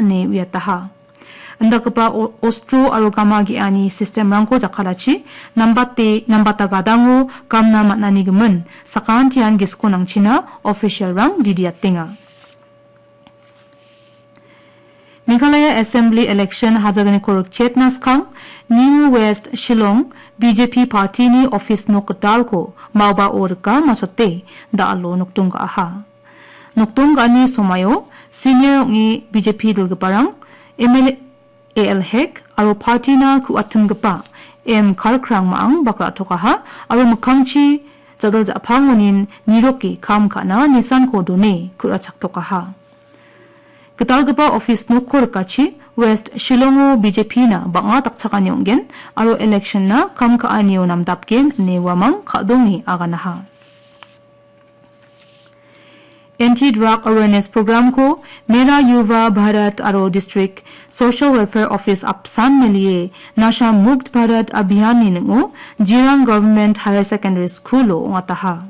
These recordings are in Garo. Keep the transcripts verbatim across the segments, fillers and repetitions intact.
ine uiataha. Indakgipa o-, ostro aro gama ge·ani sistemrangko jakkalachi nambate, nambata gadango gamna man·ani gimin sakantian gisiko nangchina officialrang didiatenga. Meghalaya Assembly election hajagniko rikchetna skang New West Shillong B J P partyni office nok gitalko maobao rika masote da·alo nokdong ga·aha. Nokdong ga·ani somaio senior ong·e B J P dilgiparang M L A A L Hek aro partyna ku·atimgipa M Karkrang ma·ang bakra tokaha aro mikkangchi jadal ja·pangonin niroke kam ka·na nisanko done ku·rachaktokaha. Gitalgipa office nokko rikachi West Shillongo B J P-na bang·a dakchakani ong·gen aro election-na kam ka·anio namdapgen ine uamang ka·donge aganaha. Anti-drug awareness program-ko Mera Yuva Bharat aro District Social Welfare Office apsan melie Nasha Mukt Bharat Abhiyan-ni ning·o Jirang Government Higher Secondary School-o ong·ataha.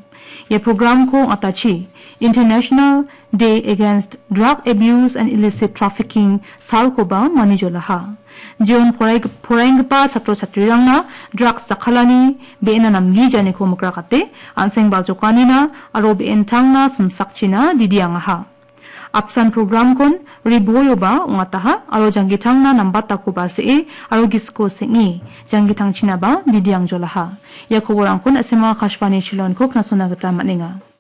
Ia program-ko ong·atachi International Day Against Drug Abuse and Illicit Trafficking salkoba manijolaha. Jeon porai-, poraenggipa chatro-chatrirangna drugs jakkalani be·ena namgijaniko mikrakate, an·seng baljokanina aro be·entangna simsakchina didiangaha. Apsan program-kon riboyoba ong·ataha aro janggitangna nambatakoba se·e aro gisiko seng·e janggitangchinaba didiangjolaha. Ia koborangkon S M R Akashvani Shillong-ko knasona gita man·enga.